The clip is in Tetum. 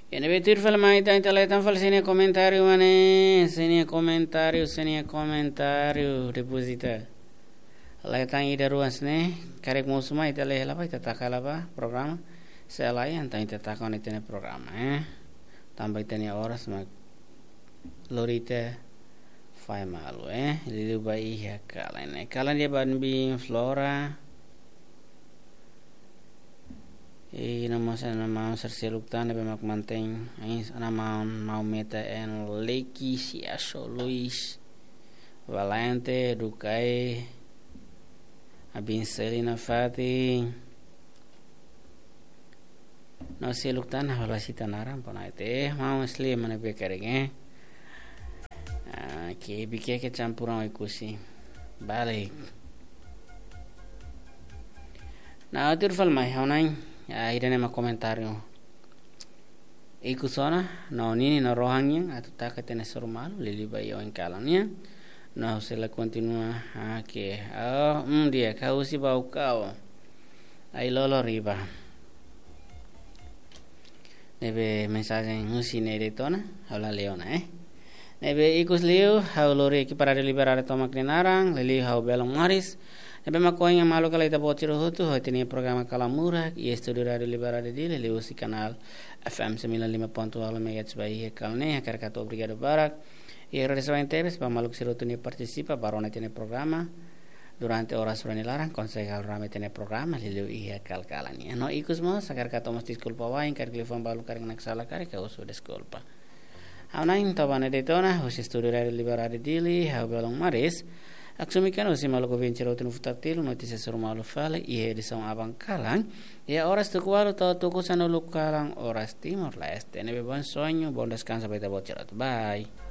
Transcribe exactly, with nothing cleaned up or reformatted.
Ne'ebé tuir fali mai ita, ita leten fali sira-nia komentáriu, mane, sira-nia komentáriu, sira-nia komentáriu, depois ita leten ida rua ne'e, karik mosu mai ita lee hela ba, ita taka hela ba programa, se lae, entaun ita taka ona ita-nia programa, eh. Tanba ita-nia oras mak lori ita fai malu, eh. Liuliu ba iha kalan ne'e. Kalan di'ak ba Bin Flora. I no mós, no mós sira seluk tan ne'ebé mak mantein, ai, no mós, no mós Meta en Leki, Siaso Luis, Valente, Dukai, Abin Selina Fati, no seluk tan, ha'u la sita naran, pona ete, mau sli mana be karik, eh. Ah, ke bike ke campuran Oekusi. Balik. Nah, tuir fali mai, ha'u hanoin, ah, ida-ne'e mak komentáriu ikus ona, no ninin no rohan nian, atu taka ita-nia hasoru malu, liuliu ba iha oin kalan nian. No ha'u sei la kontinua, ah, ke, oh, mm, di'ak, ha'u husi Baucau. Ai-lolon riba. Ne'ebé mensajen husi ne'e de'it ona, ha'u la lee ona, eh. Ne'ebé ikus liu, ha'u lori ekipa Rádiu Liberdade tomak nia naran, liuliu ha'u belun Maris. Ne'ebé mak ohin maluk hela ita-boot sira hotu, ho ita-nia programa Kalan Murak, iha estúdiu Rádiu Liberdade Dili, liuhusi kanál F M sembilan lima ponto nol megahertz ba iha kalan ne'e, hakarak atu obrigadu barak. I agradese barak tebes ba maluk sira hotu ne'ebé partisipa, ba rona ita-nia programa. Durante oras rua nia laran, konsege halo rame ita-nia programa, liuliu iha kalan-kalan ne'e. No ikus mós, hakarak atu mós deskulpa wa'in, karik liafuan balu karik naksalan karik, ha'u husu deskulpa. Ha'u hanoin to'o ba ne'e de'it ona, husi estúdiu Rádiu Liberdade Dili, ha'u belun Maris. Haksolok mai husi maluk ouvinte sira hotu no futar tilu, notísia hasoru malu fali, iha edisaun aban kalan. Iha oras tuku ualu to'o tuku sanulu kalan, oras Timor-Leste. Ne'ebé bom sonho, bom descanso ba ita-boot sira hotu. Bye.